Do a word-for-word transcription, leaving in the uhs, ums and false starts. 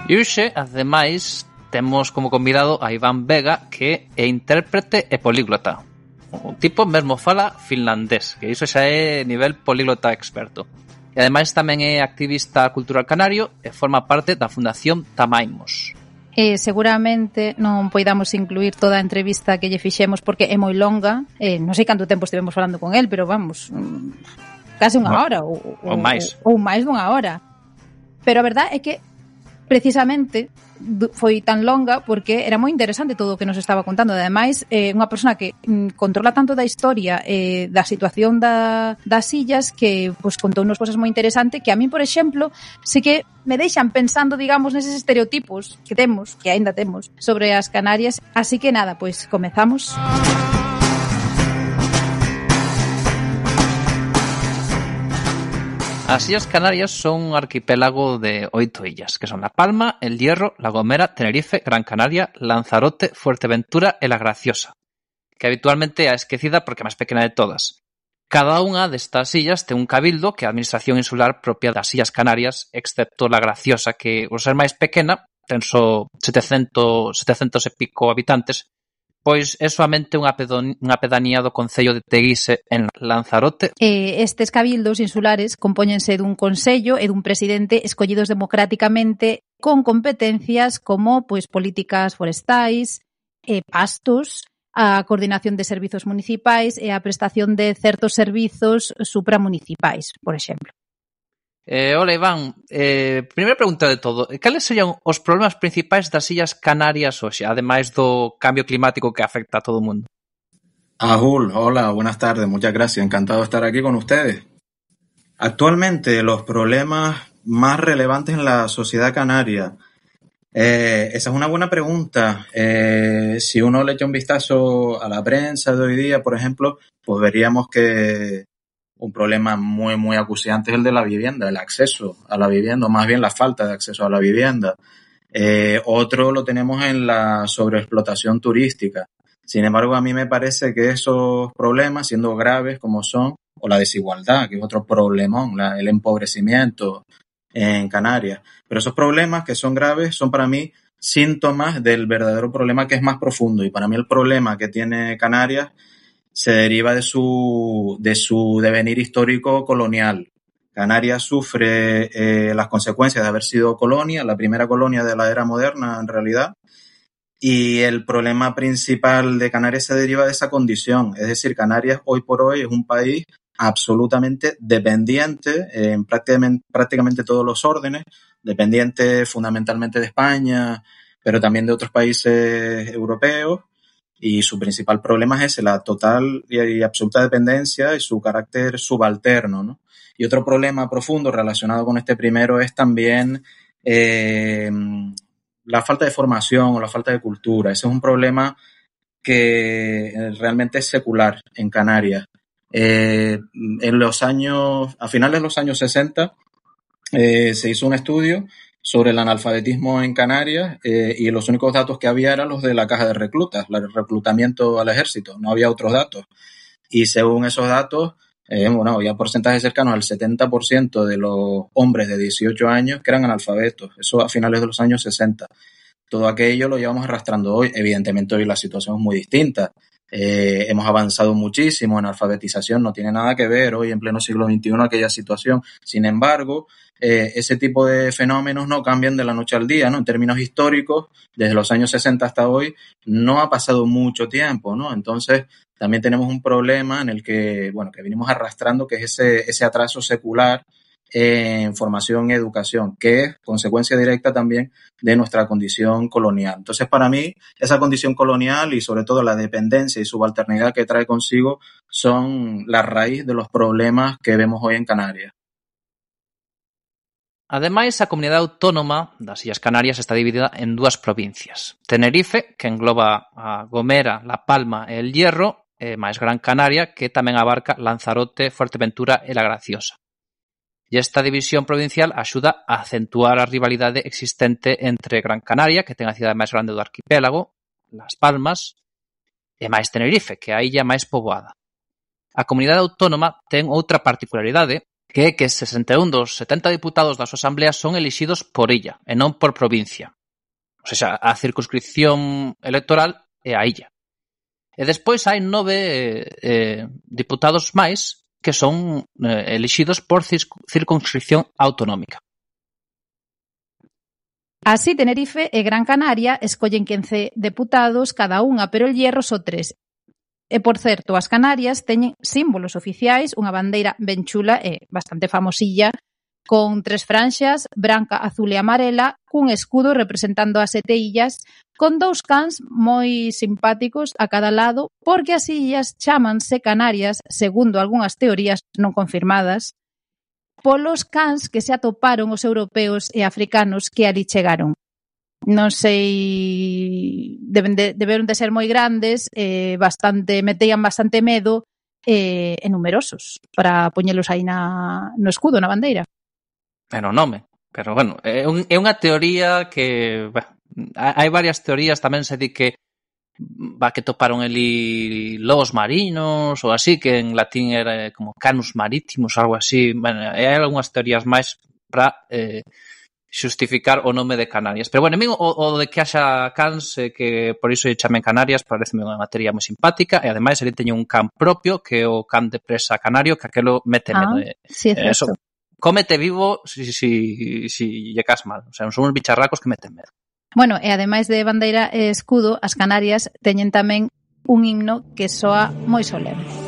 E hoxe, ademais, temos como convidado a Iván Vega, que é intérprete e políglota. O tipo mesmo fala finlandés, que iso xa é nivel políglota experto. E ademais tamén é activista cultural canario e forma parte da Fundación Tamaimos. E seguramente non poidamos incluir toda a entrevista que lle fixemos porque é moi longa. Eh, non sei canto tempo estivemos falando con el, pero vamos, case unha hora ou, ou, ou máis. Ou, ou máis dunha hora. Pero a verdade é que precisamente foi tan longa porque era moi interesante todo o que nos estaba contando. Ademais, é eh, unha persona que mm, controla tanto da historia e eh, da situación da, das illas que pues, contou unas cosas moi interesantes que a mí, por exemplo, sí que me deixan pensando, digamos, neses estereotipos que temos, que aínda temos, sobre as Canarias. Así que nada, pois pues, comezamos. As Illas Canarias son un arquipélago de oito illas, que son La Palma, El Hierro, La Gomera, Tenerife, Gran Canaria, Lanzarote, Fuerteventura e La Graciosa, que habitualmente é a esquecida porque é máis pequena de todas. Cada unha destas illas ten un cabildo que é a administración insular propia das Illas Canarias, excepto La Graciosa, que, ao ser máis pequena, ten só setecentos, setecentos e pico habitantes, pois é soamente unha, pedon, unha pedanía do concello de Teguise en Lanzarote. Eh, estes cabildos insulares compóñense dun consello e dun presidente escollidos democráticamente con competencias como pois políticas forestais, eh, pastos, a coordinación de servizos municipais e a prestación de certos servizos supramunicipais, por exemplo. Eh, hola, Iván. Eh, primeira pregunta de todo. Cales serían os problemas principais das Illas Canarias hoxe, ademais do cambio climático que afecta a todo o mundo? Ahul, hola, buenas tardes, muchas gracias. Encantado de estar aquí con ustedes. Actualmente, los problemas más relevantes en la sociedad canaria. Eh, esa es una buena pregunta. Eh, si uno le echa un vistazo a la prensa de hoy día, por ejemplo, pues veríamos que un problema muy, muy acuciante es el de la vivienda, el acceso a la vivienda, o más bien la falta de acceso a la vivienda. Eh, otro lo tenemos en la sobreexplotación turística. Sin embargo, a mí me parece que esos problemas, siendo graves como son, o la desigualdad, que es otro problemón, la, el empobrecimiento en Canarias, pero esos problemas que son graves son para mí síntomas del verdadero problema que es más profundo. Y para mí el problema que tiene Canarias se deriva de su, de su devenir histórico colonial. Canarias sufre eh, las consecuencias de haber sido colonia, la primera colonia de la era moderna en realidad, y el problema principal de Canarias se deriva de esa condición. Es decir, Canarias hoy por hoy es un país absolutamente dependiente en prácticamente, prácticamente todos los órdenes, dependiente fundamentalmente de España, pero también de otros países europeos. Y su principal problema es ese, la total y absoluta dependencia y su carácter subalterno, ¿no? Y otro problema profundo relacionado con este primero es también eh, la falta de formación o la falta de cultura. Ese es un problema que realmente es secular en Canarias. Eh, en los años, a finales de los años sesenta, eh, se hizo un estudio sobre el analfabetismo en Canarias eh, y los únicos datos que había eran los de la caja de reclutas, el reclutamiento al ejército, no había otros datos. Y según esos datos, eh, bueno, había porcentajes cercanos al setenta por ciento de los hombres de dieciocho años que eran analfabetos, eso a finales de los años sesenta. Todo aquello lo llevamos arrastrando hoy. Evidentemente hoy la situación es muy distinta. Eh, hemos avanzado muchísimo en alfabetización, no tiene nada que ver hoy en pleno siglo veintiuno aquella situación. Sin embargo, eh, ese tipo de fenómenos no cambian de la noche al día, ¿no? En términos históricos, desde los años sesenta hasta hoy, no ha pasado mucho tiempo, ¿no? Entonces, también tenemos un problema en el que, bueno, que venimos arrastrando, que es ese, ese atraso secular en formación y educación, que es consecuencia directa también de nuestra condición colonial. Entonces, para mí, esa condición colonial y sobre todo la dependencia y subalternidad que trae consigo son la raíz de los problemas que vemos hoy en Canarias. Ademais, a comunidade autónoma das Illas Canarias está dividida en dúas provincias. Tenerife, que engloba a Gomera, La Palma e El Hierro, e máis Gran Canaria, que tamén abarca Lanzarote, Fuerteventura e La Graciosa. E esta división provincial axuda a acentuar a rivalidade existente entre Gran Canaria, que ten a cidade máis grande do arquipélago, Las Palmas, e máis Tenerife, que é a illa máis poboada. A comunidade autónoma ten outra particularidade, que é que sesenta e un dos setenta diputados da súa asamblea son elixidos por illa e non por provincia. O sea, a circunscripción electoral é a illa. E despois hai nove eh, diputados máis que son eh, elixidos por circunscripción autonómica. Así, Tenerife e Gran Canaria escollen quince deputados cada unha, pero el Hierro só tres. E, por certo, as Canarias teñen símbolos oficiais, unha bandeira ben chula e bastante famosilla, con tres franxas, branca, azul e amarela, cun escudo representando as sete illas, con dous cans moi simpáticos a cada lado, porque as illas chámanse Canarias, segundo algunhas teorías non confirmadas, polos cans que se atoparon os europeos e africanos que ali chegaron. Non sei, deben de, deberon de ser moi grandes, eh, bastante, meteían bastante medo eh, e numerosos para poñelos aí na, no escudo, na bandeira. É no nome, pero bueno, é, un, é unha teoría que, bueno, hai varias teorías, tamén se di que va que toparon ali lobos marinos ou así, que en latín era como canus marítimos, algo así. Bueno, hai algunhas teorías máis para eh, xustificar o nome de Canarias. Pero bueno, a mí o, o de que haxa cans, eh, que por iso lle chamen Canarias, pareceme unha materia moi simpática, e ademais ele teñe un can propio, que é o can de presa canario, que aquelo mete ah, medo. Sí, é certo. Eso, cómete vivo si, si, si lle cas mal. O sea, son uns bicharracos que meten medo. Bueno, e ademais de bandeira e escudo, as Canarias teñen tamén un himno que soa moi solemne.